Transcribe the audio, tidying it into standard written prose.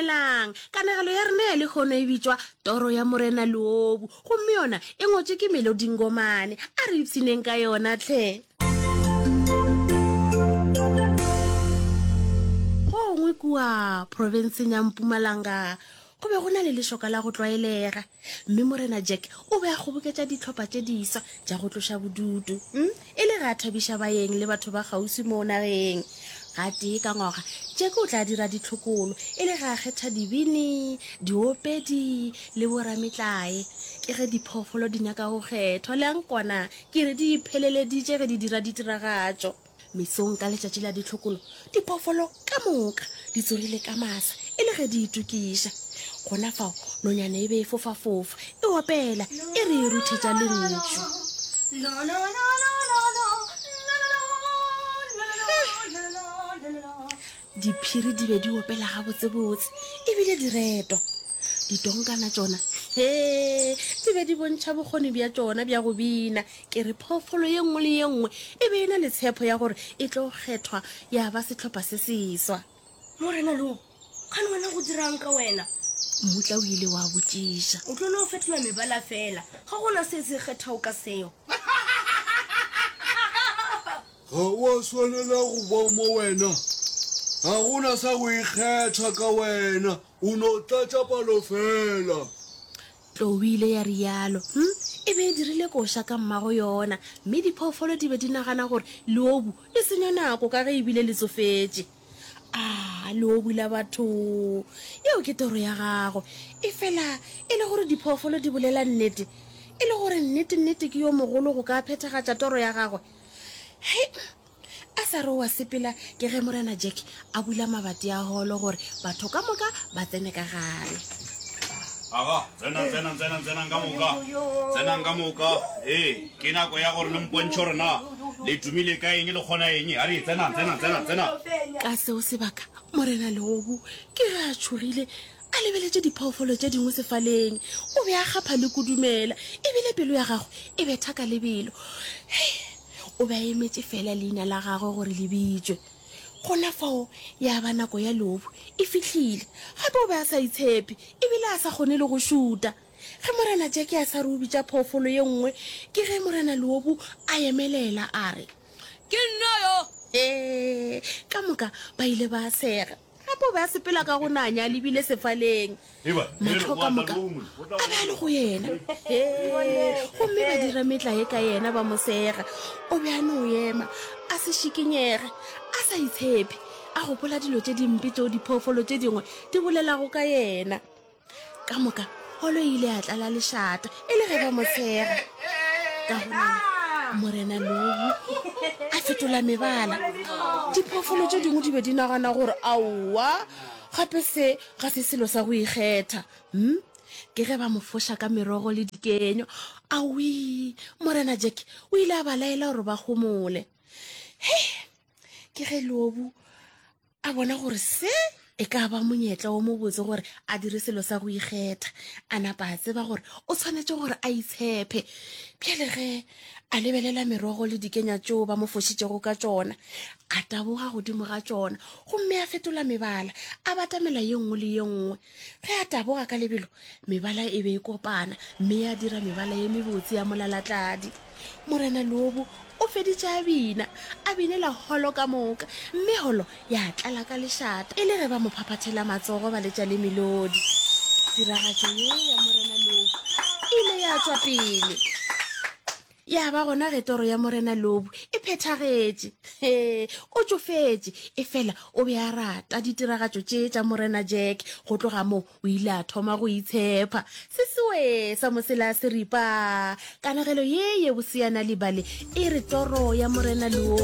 Hlokomelang, kanegelo ya rena ya lehono e bitšwa Toro ya Morena Leobu, gomme yona e ngwetšwe ke Melody Ngomane. A re ipshineng ka yona hle. Gongwe kua profenseng ya Mpumalanga go be go na le lešoka la go tlwaelega, mme Morena Jack o be a kgoboketša dihlopha tše diswa tša go tloša bodutu mm, e le ge a thabiša baeng le batho ba kgauswi moo nageng. Gatee ka ngwaga, Jack o tla dira ditlhokolo e le ge a kgetha dibini, diopedi le borametlae. Ke ge diphoofolo di nyaka go kgethwa, le a nkwana? Ke re di ipheleleditše ge di dira ditiragatšo. Mesong ka letšatši la ditlhokolo, diphoofolo ka moka di tsogile ka masa e le ge di itokiša. Gona fao nonyana e be e fofafofa, e opela e re e ruthetša lentšu. Diphiri di be di opela gabotsebotse e bile di retwa. Ditonkana tšona, hee, di be di bontšha bokgoni bja tšona bja go bina. Ke re phoofolo ye nngwe le ye nngwe e be e na le tshepo ya gore e tlo kgethwa ya ba sehlopha se seswa. Morena Lobo, kgane wena go dira'ng ka wena? Mmutla o ile wa botšiša. O tlo no fetola mebala fela, ga go na se se kgethago ka seo. Ga wa swanela go ba mo wena. Ga go na sa go ikgetha ka wena, o no tlatša palo fela. Tlou e ile ya realo. Hm, e be e dirile koša ka mmago yona, mme diphoofolo di be di nagana gore leobu le senya nako ka ge e bile le tsofetše. A, leobu la batho! Yeo ke toro ya gago. Efela e le gore diphoofolo di bolela nnete? E le gore nnete-nnete ke yo mogolo go ka phethagatša toro ya gagwe? Hei, a sa re o a sepela ke ge Morena Jack a bula mabati a holo gore batho ka moka ba tsene ka gare. Aga, tsenang, tsenang, tsenang, tsenang ka moka. Tsenang ka moka. Ee, ke nako ya gore le mpontšhe gore na le tumile ka eng, le kgona eng. A re, tsenang, tsenang, tsenang, tsenang. Ka seo sebaka, Morena Leobu ke ge a tšhogile a lebeletše diphoofolo tše dingwe sefaleng. O be a kgapha le kudumela, e bile pelo ya gagwe e betha ka lebelo. Hei, o be a emetše feela leina la gagwe gore le bitšwe. Gona fao ya ba nako ya leobu e fihlile. Gape o be a sa itshepe e bile a sa kgone le go šuta. Ge Morena Jeke a sa re o bitša phoofolo ye nngwe, ke ge Morena Leobu a emelela a re, Ke nna yo! Ee, ka moka ba ile ba sega. Gape o be a sepela ka go nanya a lebile sefaleng. Mahlo ka moka a be a le go yena. Hee, gomme ba dira metlae ka yena ba mo sega. O be a no ema a se šikinyege, a sa itshepe, a gopola dilo tše dimpe tšeo diphoofolo tše dingwe di bolelago ka yena. Ka moka holo e ile ya tlala lešata e le ge ba mo tshega. Ka gonana Morena Lobu a fetola mebala. Diphoofolo tše dingwe di be di nagana gore aowa, gape se ga se selo sa go ikgetha. Hm, ke ge ba mo foša ka merogo le dikenyo. Awii, Morena Jack o ile a ba laela gore ba homole. Hei, ke ge Lobu A bona gore se e ka ba monyetla wo mobotse gore a dire selo sa go ikgetha. A napa a tseba gore o tshwanetše gore a itshepe. Bjale ge a lebelela merogo le dikenya tšeo ba mo fošitšego ka tšona, a taboga godimo ga tšona gomme a fetola mebala, a batamela ye nngwe le ye nngwe. Ge a taboga ka lebelo, mebala e be e kopana mme ya dira mebala ye mebotse ya molalatladi. Morena Lobo o feditše a bina, a binela holo ka moka, mme holo ya tlala ka lešata e le ge ba mo phaphathela matsogo ba letša le melodi. Tiragatšo ye ya Morena Lobo e ile ya tšwa pele. Ya ba gona ge toro ya Morena Lobu e phethagetše. He, o tšofetše, efela o be a rata ditiragatšo tše tša Morena Jack. Go tloga moo o ile a thoma go itshepa. Se sewe sa mosela seripa. Kanegelo ye ye bose ya Nal'ibali e re Toro ya Morena Lobu.